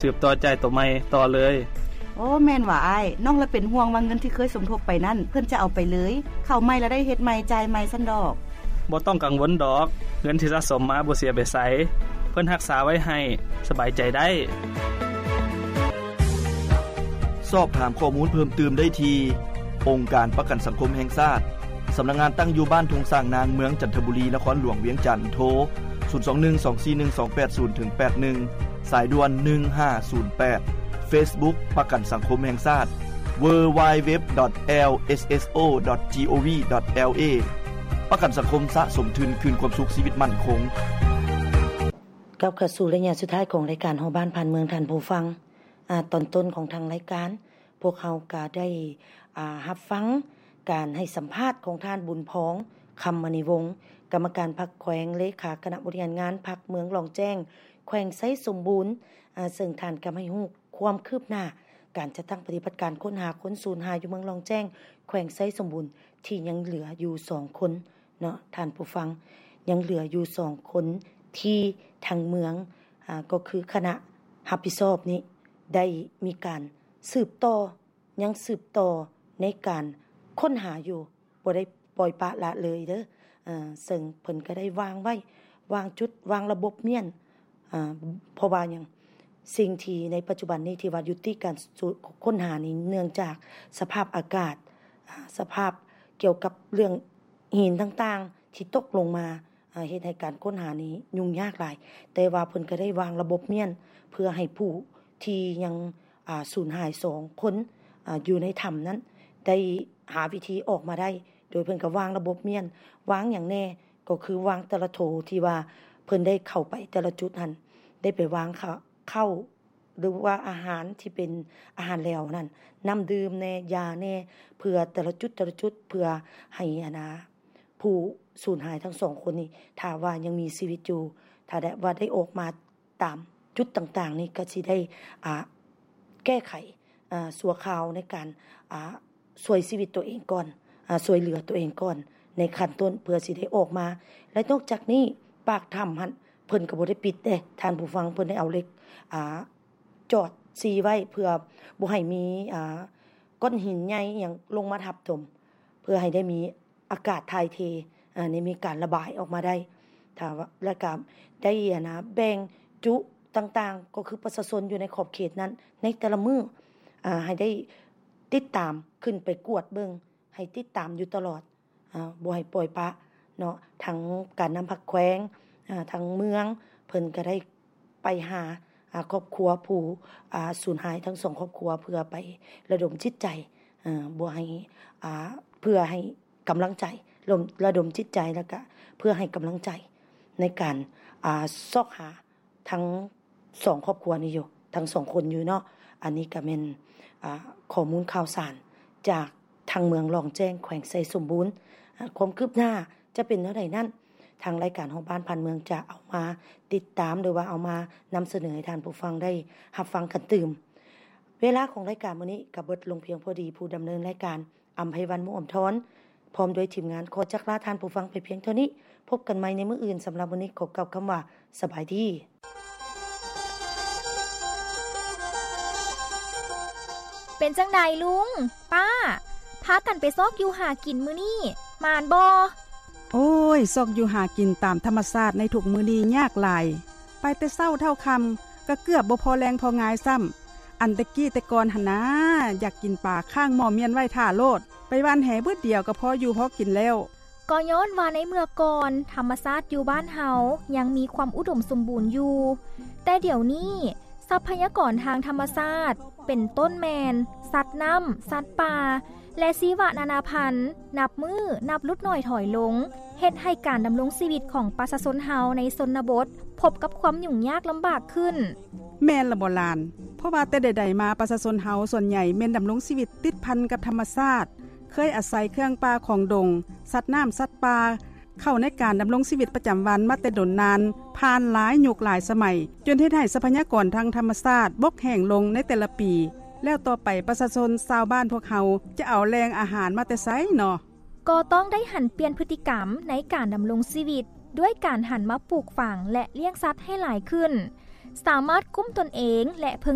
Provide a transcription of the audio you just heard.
ສືບຕໍ່ຈ່າຍໂຕໃໝ່ຕໍ່ເລີຍ. ໂອ້ ແມ່ນຫວາອ້າຍ. ນ້ອງລະເປັນຫ່ວງວ່າເງິນທີ່ເຄີຍສົມທົບໄປນັ້ນ ເພິ່ນຈະເອົາໄປເລີຍ. ເຂົ້າໃໝ່ລະໄດ້ເຮັດໃໝ່ ຈ່າຍໃໝ່ຊັ້ນດອກ. ບໍ່ຕ້ອງກັງວົນດອກ, ເງິນທີ່ສະສົມມາບໍ່ເສຍໄປໃສ, ເພິ່ນຮັກສາໄວ້ໃຫ້, ສະບາຍໃຈໄດ້. ສອບຖາມຂໍ້ມູນເພີ່ມຕື່ມໄດ້ທີ່ ອົງການປະກັນສັງຄົມແຫ່ງຊາດ. ສຳນັກງານຕັ້ງຢູ່ບ້ານທົ່ງຊ້າງນາງ, ເມືອງຈັນທະບູລີ, ນະຄອນຫຼວງວຽງຈັນ. ໂທ ສູນສອງໜຶ່ງ ສອງສີ່ໜຶ່ງ ສອງແປດສູນ ເຖິງແປດໜຶ່ງ, ສາຍດ່ວນ ໜຶ່ງຫ້າສູນແປດ. Facebook ປະກັນສັງຄົມແຫ່ງຊາດ www.lsso.gov.la. ປະກັນສັງຄົມສະສົມທຶນຄືນຄວາມສຸກຊີວິດໝັ້ນຄົງ. ກັບເຂົ້າສູ່ໄລຍະສຸດທ້າຍຂອງລາຍການຮອບບ້ານຜ່ານເມືອງ, ທ່ານຜູ້ຟັງ, ອາ, ຕອນຕົ້ນຂອງທາງລາຍການ ພວກເຮົາກໍໄດ້, ອາ, ຮັບຟັງການໃຫ້ສຳພາດຂອງທ່ານ ບຸນພອງ ຄຳມະນີວົງ, ກຳມະການພັກແຂວງ, ເລຂາຄະນະບໍລິຫານງານພັກເມືອງລ່ອງແຈ້ງ ແຂວງໄຊສົມບູນ, ອາ, ເຊິ່ງທ່ານກໍໃຫ້ຮູ້ຄວາມຄືບໜ້າການຈັດຕັ້ງປະຕິບັດການຄົ້ນຫາຄົນສູນຫາຍຢູ່ເມືອງລ່ອງແຈ້ງ ແຂວງໄຊສົມບູນ ທີ່ຍັງເຫຼືອຢູ່ສອງຄົນເນາະ ທ່ານຜູ້ຟັງ, ຍັງເຫຼືອຢູ່ສອງຄົນທີ່ທາງເມືອງ, ອາ, ກໍຄືຄະນະຮັບຜິດຊອບນີ້ ໄດ້ມີການສືບຕໍ່, ຍັງສືບຕໍ່ໃນການຄົ້ນຫາຢູ່, ບໍ່ໄດ້ປ່ອຍປະລະເລີຍເດີ້. ເຊິ່ງເພິ່ນກໍໄດ້ວາງໄວ້, ວາງຈຸດ, ວາງລະບົບມ້ຽນ, ເພາະວ່າຫຍັງ? ສິ່ງທີ່ໃນປັດຈຸບັນນີ້ທີ່ວ່າຢຸດຕິການຄົ້ນຫານີ້ ເນື່ອງຈາກສະພາບອາກາດ, ສະພາບກ່ຽວກັບເລື່ອງຫີນຕ່າງໆທີ່ຕົກລົງມາ, ເຮັດໃຫ້ການຄົ້ນຫານີ້ຫຍຸ້ງຍາກຫຼາຍ, ແຕ່ວ່າເພິ່ນກໍໄດ້ວາງລະບົບມ້ຽນ ເພື່ອໃຫ້ຜູ້ທີ່ຍັງ, ອາ, ສູນຫາຍສອງຄົນ, ອາ, ຢູ່ໃນຖ້ຳນັ້ນ ໄດ້ຫາວິທີອອກມາໄດ້, ໂດຍເພິ່ນກໍວາງລະບົບມ້ຽນ, ວາງຫຍັງແດ່? ກໍຄືວາງແຕ່ລະໂຖທີ່ວ່າເພິ່ນໄດ້ເຂົ້າໄປແຕ່ລະຈຸດຫັ້ນ, ໄດ້ໄປວາງເຂົ້າ, ເຂົ້າ ຫຼືວ່າອາຫານທີ່ເປັນອາຫານແຫຼວນັ້ນ, ນ້ຳດື່ມແດ່, ຢາແດ່, ເພື່ອແຕ່ລະຈຸດ, ແຕ່ລະຈຸດ, ເພື່ອໃຫ້ ອັນນາ ຜູ້ສູນຫາຍທັງສອງຄົນນີ້ ຖ້າວ່າຍັງມີຊີວິດຢູ່, ຖ້າໄດ້ ວ່າໄດ້ອອກມາຕາມຈຸດຕ່າງໆນີ້ ກໍຊິໄດ້, ອາ, ແກ້ໄຂ, ອາ, ຊົ່ວຄາວໃນການ, ອາ, ຊ່ວຍຊີວິດຕົວເອງກ່ອນ, ອາ, ຊ່ວຍເຫຼືອຕົວເອງກ່ອນໃນຂັ້ນຕົ້ນ ເພື່ອຊິໄດ້ອອກມາ. ແລະ ນອກຈາກນີ້ ປາກຖ້ຳຫັ້ນ ເພິ່ນກໍບໍ່ໄດ້ປິດເດ້ ທ່ານຜູ້ຟັງ, ເພິ່ນໄດ້ເອົາເຫຼັກ, ອາ, ຈອດຊີ້ໄວ້ ເພື່ອບໍ່ໃຫ້ມີ, ອາ, ກ້ອນຫີນໃຫຍ່ອີ່ຫຍັງລົງມາທັບຖົມ, ເພື່ອໃຫ້ໄດ້ມີອາກາດຖ່າຍເທ, ອາ, ໃຫ້ມີການລະບາຍອອກມາໄດ້. ຖ້າວ່າ ແລ້ວກໍໄດ້, ອັນນາ, ແບ່ງຈຸຕ່າງໆ, ກໍຄືປະຊາຊົນຢູ່ໃນຂອບເຂດນັ້ນ ໃນແຕ່ລະມື້, ອາ, ໃຫ້ໄດ້ຕິດຕາມ, ຂຶ້ນໄປກວດເບິ່ງ, ໃຫ້ຕິດຕາມຢູ່ຕະຫຼອດ. ອາ, ບໍ່ໃຫ້ປ່ອຍປະເນາະ, ທັງການນຳພັກແຂວງ, ອາ, ທາງເມືອງ ເພິ່ນກໍໄດ້ໄປຫາ, ອາ, ຄອບຄົວຜູ້, ອາ, ສູນຫາຍທັງສອງຄອບຄົວ ເພື່ອໄປລະດົມຈິດໃຈ, ອາ, ບໍ່ໃຫ້, ອາ, ເພື່ອໃຫ້ກຳລັງໃຈ, ລະດົມ, ລະດົມຈິດໃຈ ແລ້ວກະເພື່ອໃຫ້ກຳລັງໃຈໃນການ, ອາ, ຊອກຫາ ທັງສອງຄອບຄົວນີ້ຢູ່, ທັງສອງຄົນຢູ່ເນາະ. ອັນນີ້ກໍແມ່ນ, ອາ, ຂໍ້ມູນຂ່າວສານຈາກທາງເມືອງລ່ອງແຈ້ງ ແຂວງໄຊສົມບູນ. ອາ, ຄວາມຄືບໜ້າຈະເປັນແນວໃດນັ້ນ, ທາງລາຍການຮອບບ້ານຜ່ານເມືອງຈະເອົາມາຕິດຕາມ ຫຼືວ່າເອົາມານຳສະເໜີໃຫ້ທ່ານຜູ້ຟັງໄດ້ຮັບຟັງກັນຕື່ມ. ເວລາຂອງລາຍການມື້ນີ້ກໍເບິດລົງພຽງພໍດີ. ຜູ້ດຳເນີນລາຍການ ອຳໄພວັນ ມຸອຳທອນ ພ້ອມດ້ວຍທີມງານ ຂໍຈັກລາທ່ານຜູ້ຟັງໄປພຽງເທົ່ານີ້. ພົບກັນໃໝ່ໃນມື້ອື່ນ. ສຳລັບມື້ນີ້ ຂໍກ່າວຄຳວ່າ ສະບາຍດີ. ເປັນຈັ່ງໃດລຸງ, ປ້າ, ພາກັນໄປຊອກຢູ່ຫາກິນມື້ນີ້ ໝານບໍ່? ໂອ້ຍ, ຊອກຢູ່ຫາກິນຕາມທຳມະຊາດໃນທຸກມື້ນີ້ຍາກຫຼາຍ. ໄປແຕ່ເຊົ້າເທົ່າຄ່ຳ ກໍເກືອບບໍ່ພໍແລງພໍງາຍຊ້ຳ. ອັນແຕ່ກີ້ແຕ່ກ່ອນຫັ້ນນາ ຢາກກິນປາຄ້າງໝໍ້ມ້ຽນໄວ້ຖ້າໂລດ, ໄປຫວ່ານແຫບຶດດຽວກໍພໍຢູ່ພໍກິນແລ້ວ. ກໍຍ້ອນວ່າໃນເມື່ອກ່ອນ ທຳມະຊາດຢູ່ບ້ານເຮົາຍັງມີຄວາມອຸດົມສົມບູນຢູ່, ແຕ່ດຽວນີ້ ຊັບພະຍາກອນທາງທຳມະຊາດ ເປັນຕົ້ນແມ່ນ ສັດນ້ຳ, ສັດປ່າ ແລະ ຊີວະນານາພັນ ນັບມື້ນັບຫຼຸດໜ້ອຍຖອຍລົງ, ເຮັດໃຫ້ການດຳລົງຊີວິດຂອງປະຊາຊົນເຮົາໃນຊົນນະບົດ ພົບກັບຄວາມຫຍຸ້ງຍາກລຳບາກຂຶ້ນ. ແມ່ນລະບໍ່ຫຼານ? ເພາະວ່າແຕ່ໃດໆມາ ປະຊາຊົນເຮົາສ່ວນໃຫຍ່ແມ່ນດຳລົງຊີວິດຕິດພັນກັບທຳມະຊາດ, ເຄີຍອາໄສເຄື່ອງປ່າຂອງດົງ, ສັດນ້ຳ, ສັດປ່າ ເຂົ້າໃນການດຳລົງຊີວິດປະຈຳວັນມາແຕ່ດົນນານ, ຜ່ານຫຼາຍຍຸກຫຼາຍສະໄໝ, ຈົນເຮັດໃຫ້ຊັບພະຍາກອນທາງທຳມະຊາດບົກແຫ້ງລົງໃນແຕ່ລະປີ, ແລ້ວຕໍ່ໄປປະຊາຊົນຊາວບ້ານພວກເຮົາຈະເອົາແຫຼ່ງອາຫານມາແຕ່ໃສເນາະ? ກໍຕ້ອງໄດ້ຫັນປ່ຽນພຶດຕິກຳໃນການດຳລົງຊີວິດ ດ້ວຍການຫັນມາປູກຝັງ ແລະ ລ້ຽງສັດໃຫ້ຫຼາຍຂຶ້ນ. ສາມາດກຸ້ມຕົນເອງ ແລະ ເພິ່ງ